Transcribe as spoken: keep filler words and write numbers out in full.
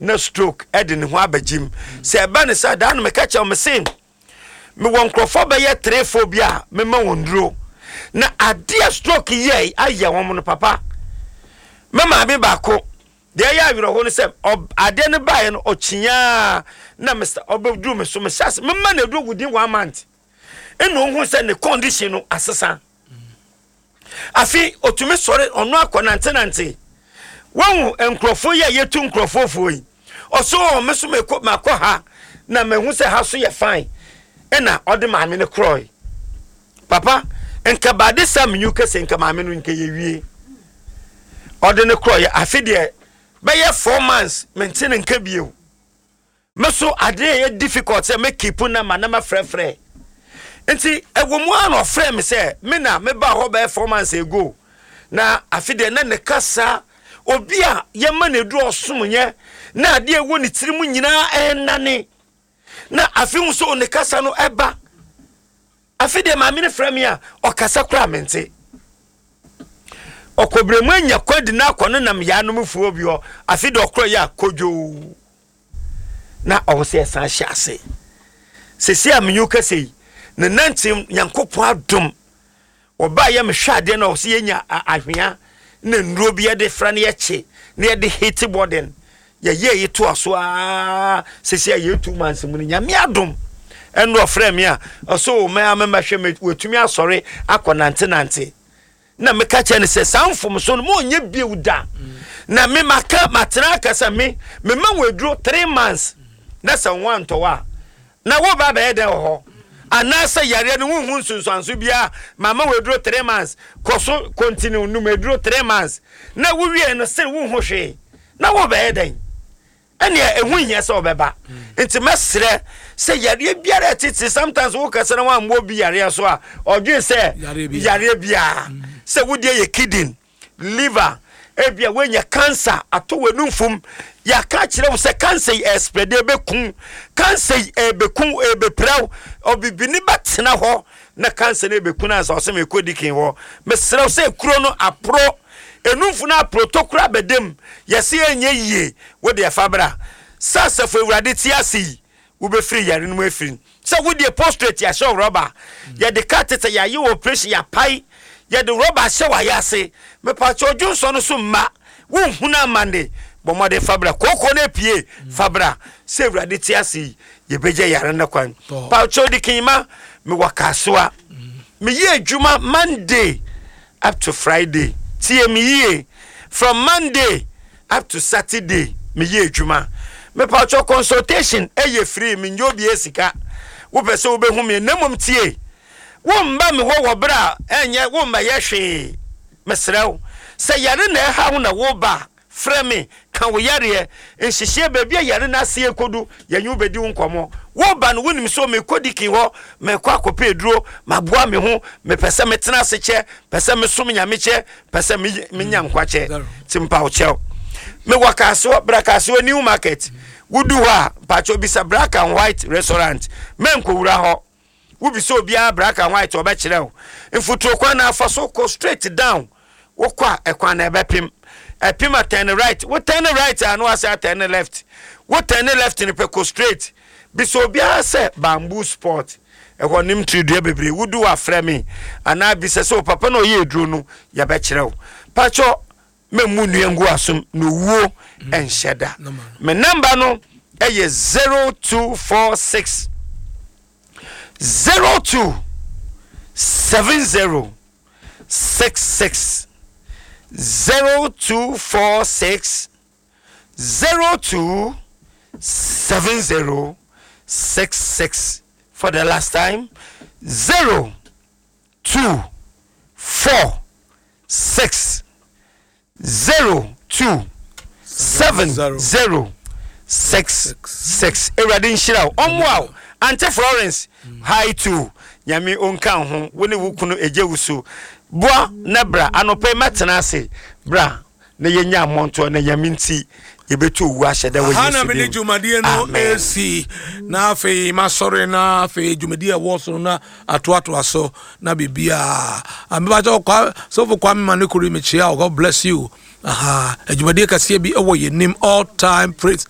Na stroke ɛde ne ho abɛgyim sɛ ɛba ne sɛ daa no, meka kyerɛ me se mewɔ nkurɔfoɔ bɛyɛ three four bi a mema wɔn duro na adeɛ stroke yɛ ayɛ wɔn no. Papa, me maame baako deɛ, ɛyɛ awerɛho no sɛ adeɛ no baeɛ no, ɔkyiaa na mr ɔbɛduru me so, mehyɛ ase mema no aduro within one month, ɛna ohun sɛ ne condition no asesa. Afi otumi sɔre, ɔno akɔ nantenante. Wɔn nkurɔfoɔ yi a yɛtu nkurɔfoɔ foɔ yi, ɔso ɔ me so mekɔ, makɔ ha na mehu sɛ ha so yɛ fine, ɛna ɔde maame no korɔe. Papa, nka baade sa menyu kɛsɛ, nka maame no nka yɛwie. Ɔde no korɔeɛ, afe deɛ bɛyɛ four months mente ne nka bio. Me so adeɛ yɛ difficult sɛ me keep na ma na ma frɛfrɛ, nti ɛwɔ mu a na ɔfrɛ me sɛ me na meba hɔ bɛyɛ four months ago, na afe deɛ na ne kasa, obi a yɛma no aduru ɔsom nyɛ na adeɛ ɛwɔ ne tiri mu nyinaa ɛnane, na afe hu sɛ ne kasa no ɛba. Afe deɛ maame no frɛ me a, ɔkasa koraa mente. Ɔkɔbrɛmu anya kwadi na akɔ no nam yaanom fuo bi hɔ. Afe deɛ ɔkorɔ yɛ a kodwoo na ɔwɔ sɛ yɛsan hyɛ ase sɛsi a menyi kɛsɛ yi ne nante. Nyankopɔn adom, ɔbaa yɛ mehwɛ adeɛ na ɔwɔ sɛ yɛnya ahwea na nnuro bi yɛde fra no, yɛkye na yɛde hit bɔden, yɛyɛ yi toa so aa. Sɛsi a yɛ two months mu no, Nyame adom, ɛno ɔfrɛ me a ɔsɛ o mɛ amɛmɛhwɛ me, wɔtumi asɔre akɔ nante nante. Na meka kyerɛ no sɛ saa mfomso no ma ɔnyɛ bio da. Na me maka matena aka sɛ me mema wɔ aduro three months na sɛ wo antɔ hɔ a, na woba bɛyɛ dɛn wɔ hɔ? Anaasɛ yareɛ no wohu nsonsanso biara, mama wɔ aduro three months, kɔ so continue num aduro three months na wowie no sɛ wohu hwee na wobɛyɛ dɛn? Ɛnea ɛho hia sɛ ɔbɛba. Nti mɛsrɛ sɛ yareɛ biara ɛtete, sometimes wokasa na woammɔ bi yareɛ so a, ɔdwen sɛ yareɛ biara sɛ wodeɛ yɛ kidney, liver, ebia woanya cancer ato w'anumfom. Yɛaka kyerɛ wo sɛ cancer yi ɛspread, ɛbɛku cancer yi, ɛbɛku, ɛbɛpiraw. Ɔbibini bɛtena hɔ na cancer no ɛbɛku no ansa ɔsɛ mekɔ dikin hɔ. Mesrɛ wo sɛ kuro no aporɔ, enumfo no aporo, tokuro abɛdam, yɛsɛ yɛnyɛ yie. Wode ɛfa bra sɛ Asafo Awurade te ase yi, wobɛfiri yare no mu afiri sɛ wodeɛ prostate yɛahyɛ wo rɔba, yɛde catheter yɛayɛ wɔ operation, yɛapae, yɛde rɔba ahyɛ wɔ ase. Mepakyɛ ɔdwonsɔ no so mma wonhunu amande. Bɔ mmɔden fa bra. Kooko no apue, fa bra. Sɛ Awurade te ase yi, yɛbɛgya yare no kwan. Pakyɛ odi kenyima, mewɔ Kasoa. Meyɛ adwuma Monday up to Friday. Tie me yie, from Monday up to Saturday meyɛ adwuma. Mepakyɛ consultation ɛyɛ free, menyɛ obi sika. Wopɛ sɛ wobɛhu me, na mmom tie, womba me hɔ wɔ berɛ a ɛnyɛ womma yɛ hwee. Mesrɛ wo sɛ yare na ɛha wo na woba, frɛ me, ka wo yareɛ nhyehyɛ, baabi a yare no ase kɔdu, yɛnye wo bɛdi wo nkɔmmɔ. Woba no, wonim sɛ mekɔ dikin hɔ, mekɔ akɔpɛ aduro maboa me ho, mepɛ sɛ metena ase kyɛ, pɛ sɛ mesom Nyame kyɛ, pɛ sɛ menya nkwa kyɛ. Nti mpa wo kyɛw, mewɔ Kaasoɔ. Bra Kaasoɔ New Market. Wodu hɔ a, mpakyɛw bisa Black and White Restaurant. Mɛnkɔwura hɔ, wobisa obiara Black and White, ɔbɛkyerɛ wo. Mfuturo kwan na afa so kɔ straight down. Wokɔ a, ɛkwan na ɛbɛpem ɛpem a, turn right. Wo turn right a, na wasɛ turn left. Wo turn left no pɛ, kɔ straight, bisa obiara sɛ Bamboo Sport, ɛhɔ nim tiridua bebree. Wodu wɔ afrɛ me anaa bisa sɛ o papa na ɔyɛ eduro no, yɛbɛkyerɛ wo. Pakyɛ mɛmu nnua ngu asom na owuo ɛnhyɛ da. Me number no ɛyɛ zero two four six zero two seven zero six six zero two four six zero two seven zero six six. For the last time, zero two four six zero two seven zero six six. Awurade nhyira wo, ɔmmoa wo. Ante Florence, hi too. Nyame ɔnka ho, wo ne wo kunu ɛgye wo so. Boa na bra anɔpɛ, mɛtena ase. Bra na yɛnya mmɔntoɔ na Nyame nti yɛbɛtu owu ahyɛ dɛ wɔ Ha na Yesu mede din. Dwumadie no Amen. ɛsi na afei masɔre, na afei dwumadie a ɛwɔ so no na atoatoa so na biribiaa mebakyɛ kwa sɔfo Kwame ma ne kori mekyia wo. God bless you. Aha, adwumadie kɛseɛ bi ɛwɔ yɛnim, All Time Praise.